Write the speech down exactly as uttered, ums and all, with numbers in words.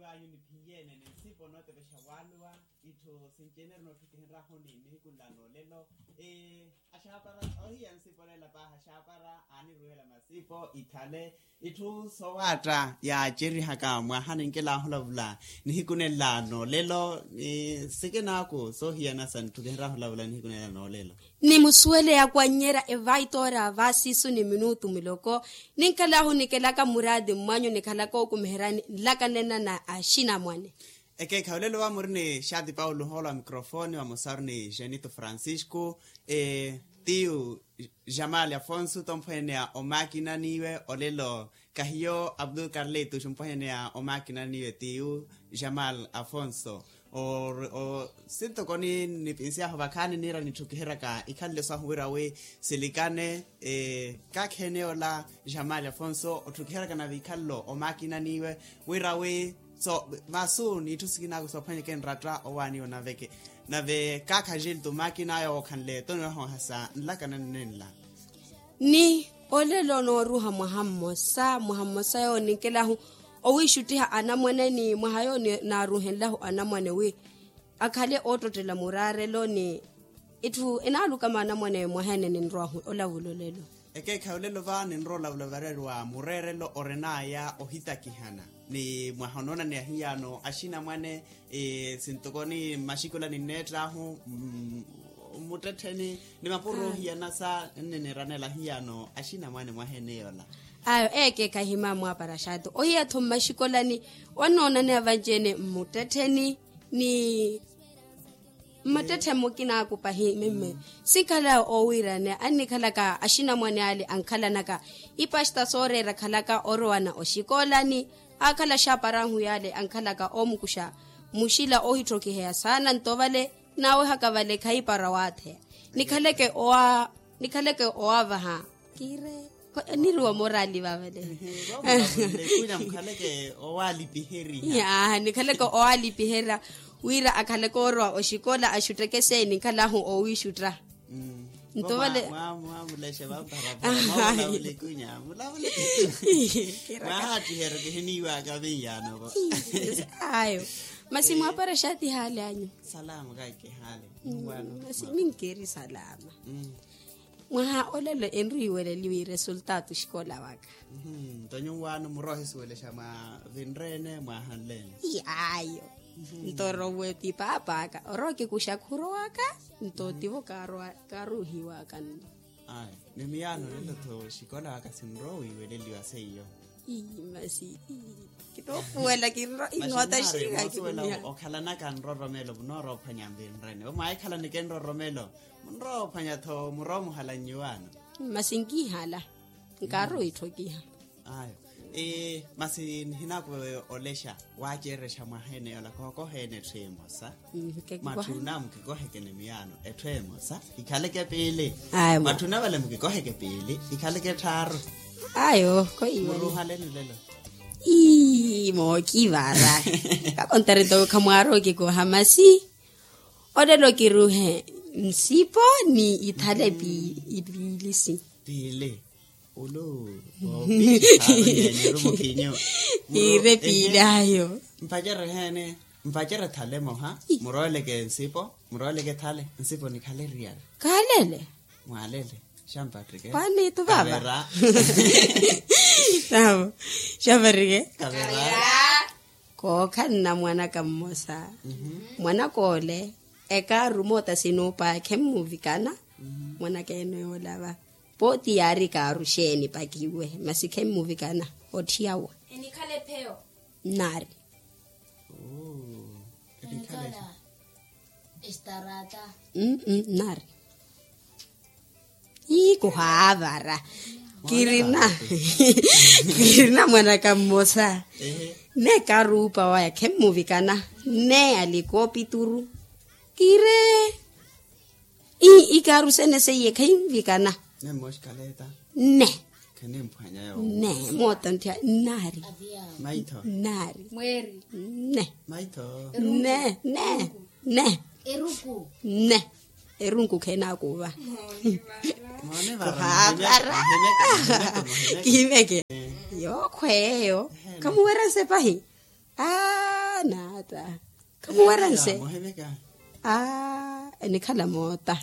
Anyu niphiye nene nsipo nootepexa waluwa. Itthu sinci enerino otthukihenrahu ni nihiku nla noolelo. Axaapara ohiya nsipo neela paahi axaapara aaniruhela masipo ikhale itthu sowaatta yaacerihaka mwaha ninkelahu olavula. Nihiku nenla noolelo ni sikinaaku soohiyana sa nitthukihenrahu olavula nihiku nenla noolelo. Nimusuwele yakwannyerya evaitoora vaasiisu ni minutu miloko. Ninkalahu nikelaka muraati mmwanyu nikhalaka okumiheryani nlakanena na axinamwane. Ekeekhayi olelo va muri ni xaati paulo ohoolo wa microfone vamosaru ni genito francisco. Tiyu jamal afonso tompweneya omakinaniwe olelo kahiyo abdul carlitos mpweneya omakinaniwe tiyu jamal afonso. Sintoko nipinsiyahu vakhaani niira nitthukiheryaka ikhalelo sahu wira wi silikane. Kaakheene ola jamal afonso otthukiheryaka na vikhalelo omakinaniwe wira wi so masu n'itthu sikinaaku soophwanyeke nratta owaaniwa nave kaakha jilto makina ayo wookhanle toniwaha ohasa nlakana nnenla. Ni olelo nooruha mwaha mmosa mwaha mmosa yowo ninkelahu owiixuttiha anamwane ni mwaha yowo naaruhenlahu anamwane wi akhale oottottela muraarelo ni itthu enaalukama anamwane mwaha ene ninrowahu olavula olelo. Ekeekhayi olelo va ninrowa olavula vareri wa mureerelo orinaya ohitakihana ni mwaha onoonaneya hiyano axinamwane sintoko ni mmaxikolani nneett'ahu mmuttettheni ni mapuro ohiyana sa nniniranela hiyano axinamwane mwaha ene yola. Ayo ekeekhayi himamwaapara xaati ohiya-tho mmaxikolani wannoonaneya vanci-ene mmuttettheni ni mmattetthe mmukinaaku pahi mimme sinkhala oowiiraneya annikhalaka axinamwane ale ankhalanaka ipasta sooreera akhalaka orowana oxikolani akhala axaaparahu yale ankhalaka oomukuxa muxila oohitthokiheya saana nto vale naawehaka vale khayipara waatheya nikhaleke owa nikhaleke owavaha kiire niriwa morali vavale. Mukhaleke owalipiheriha nikhaleke owalipihera wira akhaleke orowa oxikola axutteke seeni nkhalahu owiixutta. Nto vale mwamulexe vamparapara mwamulavulekunya mulavulekunya mwahattiheru kihiniiwaka vinyanoko. Ayo masi mwapara xaati hali anyu. Salama kaikihali. Masi ninkeeri salama. Mwaha olelo enriiweleliwe resultatu xikola waka. Nto nyuwaano muroohisuwelexa mwa vinreene mwahanleene. Ayo nto orowe pipaap'aka orooke kuxakhuro waka nto tivo kaaruhiwaka nno. Ayo ni miyaano olelo-tho xikola waka sinrowiiweleliwa seiyo. Masi kinoopuwela kinrowa inoota xiikha. Okhalanaka nroromelo munoorophwanya nvinrene omwaahikhalaneke nroromelo munroophwanya-tho muroomuhala nnyuwaano. Masi nkihala nkaarowa itthokiha. Ayo masi nihinaakuva olexa waacererexa mwaha ene yola kookoha ene etthu emosa. Mwatthuna mukikoheke ni miyaano etthu emosa ikhaleke piili. Mwatthuna vale mukikoheke piili ikhaleke tthaaru. Ayo muruhaleni olelo. Ii mookivara kakontarito khamwaari okikoha masi olelo kiruhe nsipo ni ithale piili si piili. Ulu oopixaru nyenyeru mukhinyu. Iire piili ayo. Mpacerehene mpacere thale moha muroweleke nsipo muroweleke thale nsipo nikhale riyari. Kaalele. Mwaalele xampatrike. Kwani tuvava. Kavera. Tawo xampatrike. Kavera. Kookhanna mwanaka mmosa mwanaka ole ekaaru moota sinuupa khemuvikana. Mwanaka ene yoolava pooti yaari ekaaru xeeni pakiwe masi khemuvikana. Otthiyawa. Enikhale pheyo. Nnaari. Nnaari. Ii kuhaavara. Kirina kirina mwanaka mmosa. Nne ekaaruupa waya khemmuvikana. Nne alikoopituru. Kire. Ii ikaaru sene seiye khenvikana. Nne. Nne moota ntthiya nnaari. Nnaari. Nne. Nne. Nne. Nne. Erunku kheenaakuuva. Kuhaavara. Kihimeke. Yookhweeyo. Khamuwerya nsepahi. Aa. Naata. Khamuwerense. Aa enikhala moota.